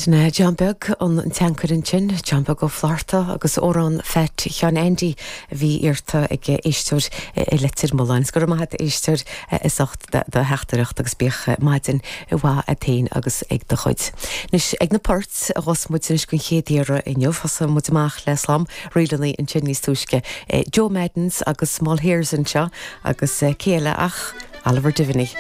Sin é John Beag an Teancair ansin, John Beag Ó Flatharta agus amhrán Phat Sheáin Aindí a bhí iarrta ag éisteoir i Leitir Mealláin. Is go raibh maith a't a éisteoir as ucht do theachtaireacht agus bíodh maidin mhaith a't féin agus ag do chuid. Anois ag na poirt a ghabhfas muid anois den chéad iarraidh inniu. Thosaigh muid amach le slám ríleanna ansin níos túisce. Joe Maddens agus Small Hairs anseo agus cé eile ach Oliver Diviney.